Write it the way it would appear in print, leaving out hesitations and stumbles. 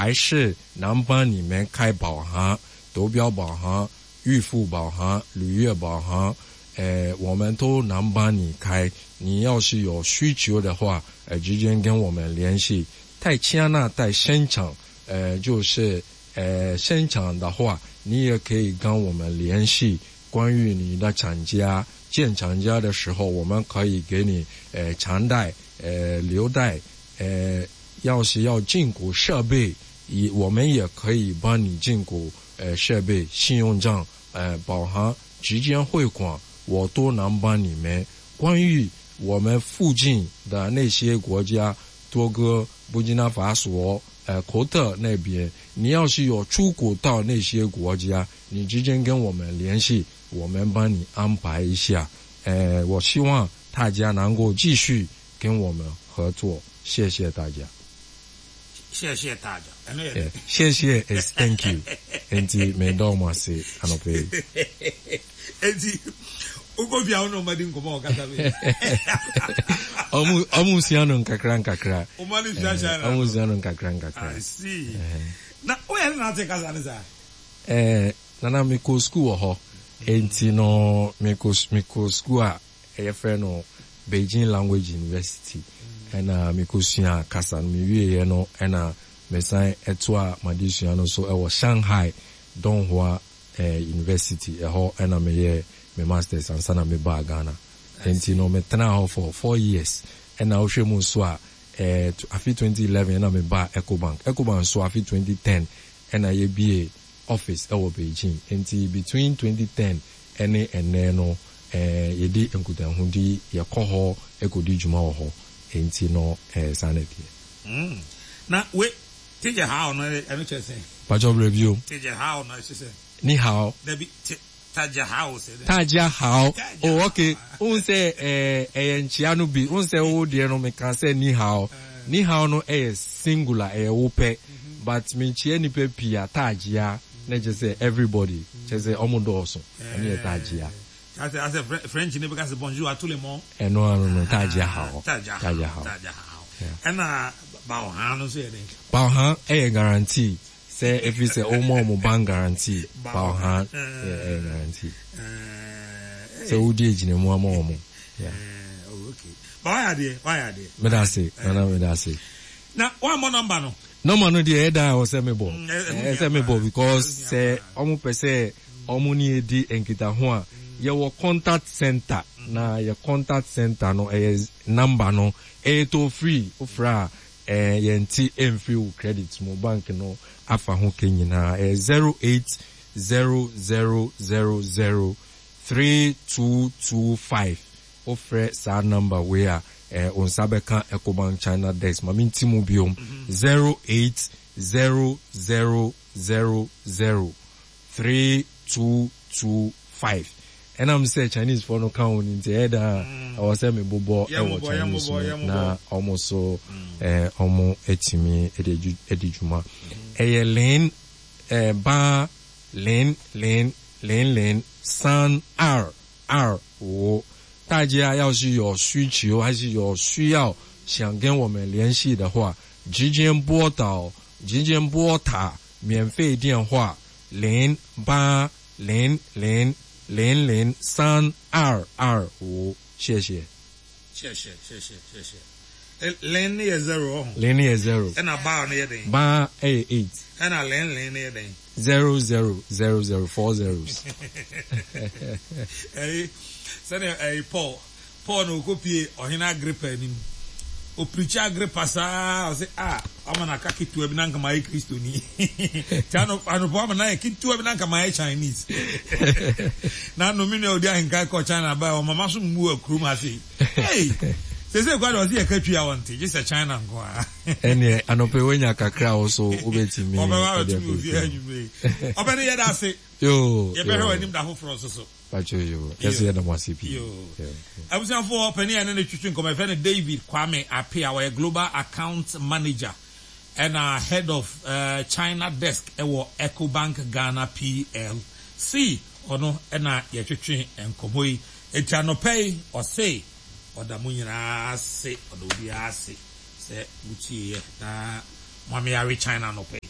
还是能帮你们开保函、投标保函、预付保函、履约保函，呃，我们都能帮你开。你要是有需求的话，呃，直接跟我们联系。在加拿大生产，呃，就是呃生产的话，你也可以跟我们联系。关于你的厂家建厂家的时候，我们可以给你呃长贷、呃留贷，呃，要是要进口设备，也我们也可以帮你进口呃设备、信用账、呃保函、直接汇款，我都能帮你们。关于我们附近的那些国家，多哥、布吉纳法索、呃科特那边，你要是有出国到那些国家，你直接跟我们联系，我们帮你安排一下。呃，我希望大家能够继续跟我们合作，谢谢大家。谢谢大家。ɛno yɛ Yeah, 谢谢 is thank you. Enti meda mo ase anɔpa yi. Enti wokɔ fie a wo ne ɔma di nkɔmmɔ wɔ kasa bi. Ɔmo ɔmo sua no nkakra nkakra. Ɔma no sua China. Ɔmo sua no nkakra nkakra. I see. Na woyɛ ne na ate kasa ne saa? Eh, nana mekɔ school wɔ hɔ. Enti no mekɔ mekɔ school a yɛfrɛ no Beijing Language University ɛna mekɔsuaa kasa no. Mewieeɛ no ɛna mesan toaa m'adesua no so wɔ Shanghai Donghua University. Ɛhɔ ɛna meyɛɛ me masters ansa na mebaa Ghana. Enti no metenaa hɔ for 4 years. Ɛna wohwɛ mu nso a afe 2011 ɛna mebaa Ecobank. Ecobank nso afe 2010 ɛna yɛbue office ɛwɔ Beijing. Enti between 2010 ɛne ɛnnɛ no yɛdi nkitahodi, yɛkɔ hɔ kɔdi dwuma wɔ hɔ. Enti no saa na ɛteɛ. Na we 大家好 no ɛno kyerɛ sɛn? Pakyɛw brɛ bio. 大家好 no ɛkyerɛ sɛn? 你好. Dabi, te 大家好 sɛ dɛn? 大家好. Oh okay, wohu sɛ ɛyɛ nkyea no bi, wohu sɛ wo deɛ no meka sɛ 你好. 你好 no ɛyɛ singular, ɛyɛ wo pɛ. But menkyea nnipa pii a, 大家 na kyerɛ sɛ everybody, kyerɛ sɛ ɔmo dɔɔso, ɛno yɛ 大家. Asɛ asɛ French ni bɛka sɛ bonjour à tout le monde. Ɛno ano no, 大家好. 大家好. 大家好. Ɛna 保函 no nso yɛ dɛn? 保函 ɛyɛ guarantee. Sɛ ɛfiri sɛ ɔmo a ɔmo bank guarantee, 保函 ɛyɛ guarantee. Sɛ wodi agyinamu ama ɔmo. Yeah. Oh, okay. Ba wayɛ adeɛ, wayɛ adeɛ. Meda ase, nana meda ase. Na wammɔ number no? Number no deɛ ɛyɛ dan a ɛwɔ sɛ mebɔ. Ɛyɛ sɛ mebɔ because sɛ ɔmo pɛ sɛ ɔmo ne yɛ di nkitaho a, yɛwɔ contact center na yɛ contact center no ɛyɛ number no ɛyɛ toll free. Wofrɛ a ɛɛ yɛnte ɛmfiri wo credit mu, bank no afa ho ka nyinaa. Ɛyɛ 0800003225. Wofrɛ saa number wei a, ɛɛ wo nsa bɛka Ecobank China desk. Ma menti mu biom, 0800003225. Ɛnam sɛ Chinese foɔ no ka ho no nti, ɛyɛ dan a ɛwɔ sɛ mebobɔ wɔ Chinese mu na wɔn nso ɛɛ wɔn atumi de adi dwuma. Ɛyɛ 零 ɛɛ 八 零零零零三二二五。大家要是有需求还是有需要想跟我们联系的话，直接拨打免费电话0800003225，谢谢。谢谢谢谢谢谢。 零no yɛ zero ɔho. 零 yɛ zero. Ɛna 八 no yɛ dɛn? 八 ɛyɛ eight. Ɛna 零 零 no yɛ dɛn? 0000, four zeros. Ɛyi sɛnea ɛyi Paul na okopie ɔhene Agrippa anim. Opirikyi Agrippa saa ɔsɛ a ɔma na aka ketewa bi na nka ma yɛ Kristoni. Ti ano anopɔ ama na yɛ ketewa bi na nka ma yɛ Chinese. Na no mi nua odi ahenkan kɔ China ba ɔmama so mmu akurom ha sei. Hey! Sese kwa de ɔsɛ yɛ ka twi a wɔnte gye sɛ China nko a. Ɛneɛ anɔpɛ woanya kakra a wo so wobɛtumi Ɔbɛba abɛto me ofie anwummerɛ yi. Ɔbɛne yɛda ase. Yoo. Yɛbɛhwɛ w'anim da foforɔ nso so. Pacho yoo. Yɛso yɛda mo ase pii. Yoo. Abusuafoɔ, panin a yɛne no twetwe nkɔmmɔ yɛfrɛ no David Kwame Appiah. Ɔyɛ Global Account Manager ɛna Head of China Desk ɛwɔ Ecobank Ghana PLC. Ɔno ɛna yɛtwetwe nkɔmmɔ yi. Enti anɔpa yi ɔse ɔda mo nyinaa ase, ɔda obiara ase sɛ motieeɛ na moame awe China anɔpa yi.